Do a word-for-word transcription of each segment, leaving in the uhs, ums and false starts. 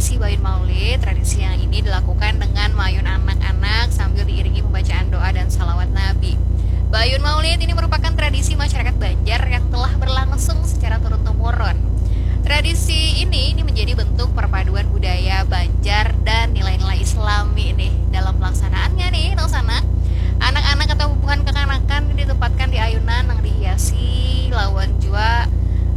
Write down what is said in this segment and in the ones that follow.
Tradisi Bayun Maulid, tradisi yang ini dilakukan dengan mayun anak-anak sambil diiringi pembacaan doa dan salawat Nabi. Bayun Maulid ini merupakan tradisi masyarakat Banjar yang telah berlangsung secara turun-temurun. Tradisi ini ini menjadi bentuk perpaduan budaya Banjar dan nilai-nilai Islami nih dalam pelaksanaannya nih, Nusana. Anak-anak atau bubuhan kekanakan ditempatkan di ayunan yang dihiasi lawan jua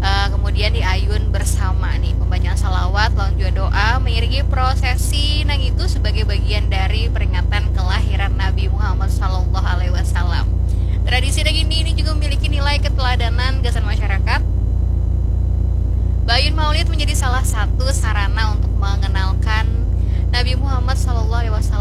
uh, kemudian diayun bersama nih, pembacaan salawat lawan jua doa mengiringi prosesi nang itu sebagai bagian dari peringatan kelahiran Nabi Muhammad Sallallahu Alaihi Wasallam. Tradisi nang ini ini juga memiliki nilai keteladanan gasan masyarakat. Bayun Maulid menjadi salah satu sarana untuk mengenalkan Nabi Muhammad Sallallahu Alaihi Wasallam